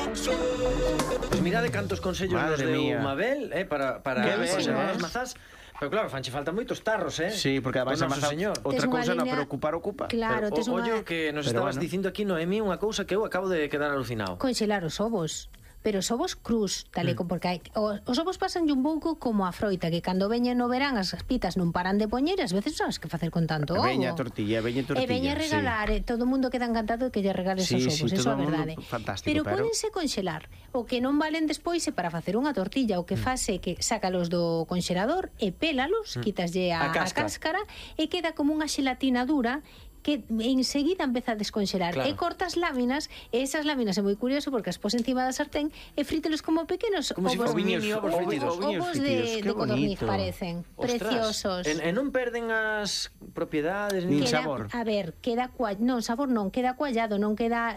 Pois mirade cantos consellos nos deu Mabel para conservar as mazás. Pero claro, fanche falta moitos tarros, Sí, porque ademais a mazá outra cousa non, pero ocupar ocupa. Claro, tes unha... Ollo que nos estabas dicindo aquí, Noemí, unha cousa que eu acabo de quedar alucinado. Conxelar os ovos. Pero os ovos crus, tal e como porque os ovos pasan un pouco como a froita, que cando veñen no verán as pitas non paran de poñer e ás veces sabes que facer con tanto ovo. Veña tortilla. E veña regalar, todo o mundo queda encantado de que lle regales os ovos, eso é verdade. Fantástico, pero pódense conxelar. O que non valen despois é para facer unha tortilla, o que fase que sácalos do conxelador e pélalos, quitaslle a cáscara e queda como unha xelatina dura que enseguida empeza a desconxelar, claro. E cortas láminas, e esas láminas é moi curioso porque as pos encima da sartén e frítelos como pequenos como ovos, ovos de codorniz parecen. Ostras, preciosos. E non perden as propiedades nin sabor. A ver, queda sabor non, queda cuallado, non queda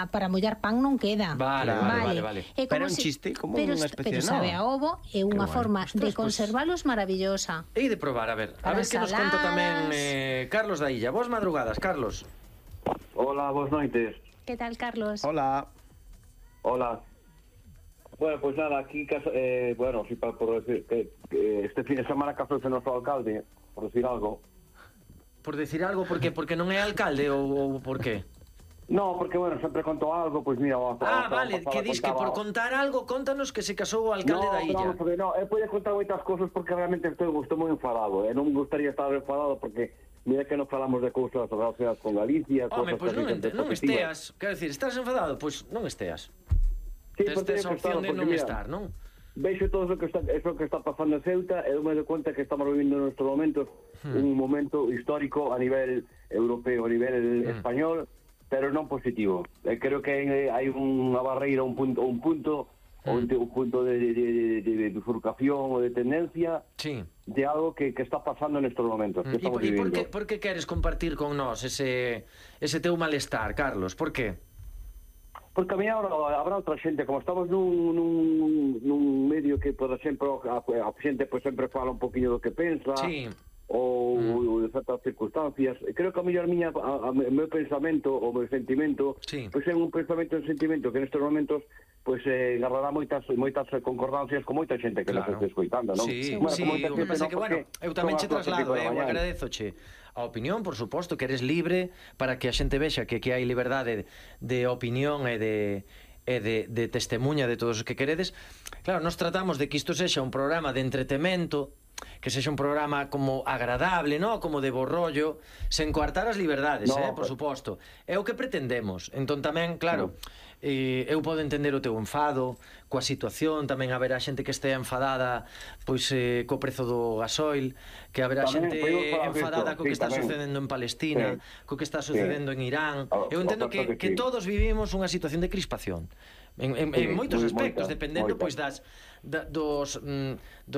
para mollar pan non queda. Vale. Pero un chiste como unha especie de sabe a ovo, é unha forma de conservalos maravillosa. E de probar, a ver que nos conta tamén Carlos da Illa. Vos madrugadas, Carlos. Hola, boas noites. Que tal, Carlos? Hola. Bueno, pues nada, aquí, bueno, sí, por decir que este fin de semana casou noso alcalde, por decir algo. Por decir algo, por qué? Porque non é alcalde ou por qué? No, porque, bueno, sempre contou algo, pois mira... vale, que dis que por contar algo, contanos que se casou o alcalde da Illa. No, pode contar moitas cosas porque realmente estou moi enfadado, non me gustaría estar enfadado porque... Mira que non falamos de cousas relacionadas con Galicia. Home, pois non esteas. Quero dicir, estás enfadado? Pois non esteas. Tes a opción de non estar, non? Veixo todo eso que está pasando en Ceuta e me doy cuenta que estamos vivindo en estes momentos un momento histórico a nivel europeo, a nivel español, pero non positivo. Creo que hai unha barreira, un punto de bifurcación ou de tendencia de algo que está pasando nestes momentos que estamos vivindo. E por que queres compartir con nós ese teu malestar, Carlos? Por que? Porque a mí habrá outra xente, como estamos nun medio que por exemplo a xente sempre fala un poquinho do que pensa ou de certas circunstancias. Creo que a mellor o meu pensamento, o meu sentimento, pois é un pensamento e un sentimento que nestes momentos pois agarrará moitas concordancias con moita xente que nos está escoitando, non? O que pasa que, bueno, eu tamén che traslado, eu agradezoche a opinión, por suposto, que eres libre para que a xente vexa que hai liberdade de opinión e de testemunha de todos os que queredes. Claro, nos tratamos de que isto sexa un programa de entretemento, que sexa un programa como agradable, ¿no? Como de borrollo, sen coartar as liberdades, por suposto. É o que pretendemos. Entón tamén, claro, eu podo entender o teu enfado coa situación, tamén haberá xente que estea enfadada pois co prezo do gasoil, que haberá xente enfadada co que está sucedendo en Palestina, co que está sucedendo en Irán. Eu entendo que todos vivimos unha situación de crispación en moitos aspectos, dependendo pois dos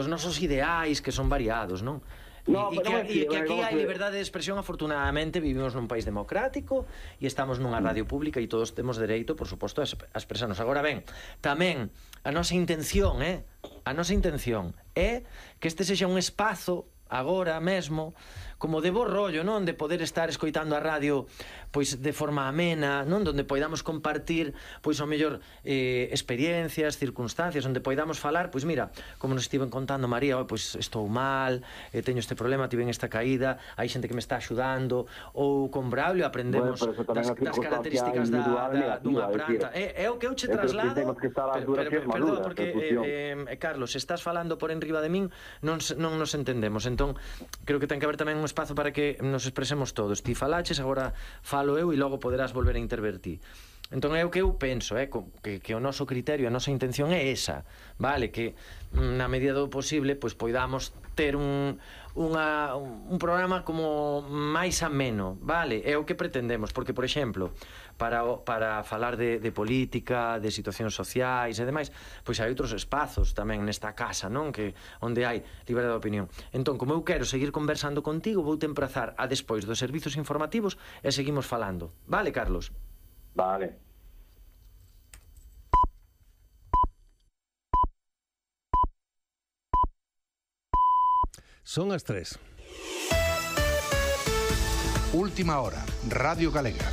nosos ideais que son variados, non? E que aquí hai liberdade de expresión. Afortunadamente vivimos nun país democrático e estamos nunha radio pública e todos temos dereito, por suposto, a expresarnos. Agora ben, tamén a nosa intención é que este sexa un espazo agora mesmo como de bo rollo, non? De poder estar escoitando a radio pois de forma amena, non? Donde poidamos compartir pois ao mellor experiencias, circunstancias, onde poidamos falar, pois mira, como nos estiven contando María, pois estou mal, teño este problema, tiven esta caída, hai xente que me está axudando, ou con Braulio aprendemos das características dunha planta. É o que eu che traslado. Perdón, porque Carlos, se estás falando por enriba de min, non nos entendemos. Entón, creo que ten que haber tamén un espazo para que nos expresemos todos. Ti falaches, agora falo eu e logo poderás volver a intervertir. Entón é o que eu penso, que o noso criterio, a nosa intención é esa, vale? Que na medida do posible pois poidamos ter un programa como máis ameno, vale? É o que pretendemos, porque, por exemplo, para falar de política, de situacións sociais e demais, pois hai outros espazos tamén nesta casa, non? Que onde hai liberdade de opinión. Entón, como eu quero seguir conversando contigo, vou te emprazar a despois dos servizos informativos e seguimos falando. Vale, Carlos? Vale. Son as 3. Última hora, Radio Galega.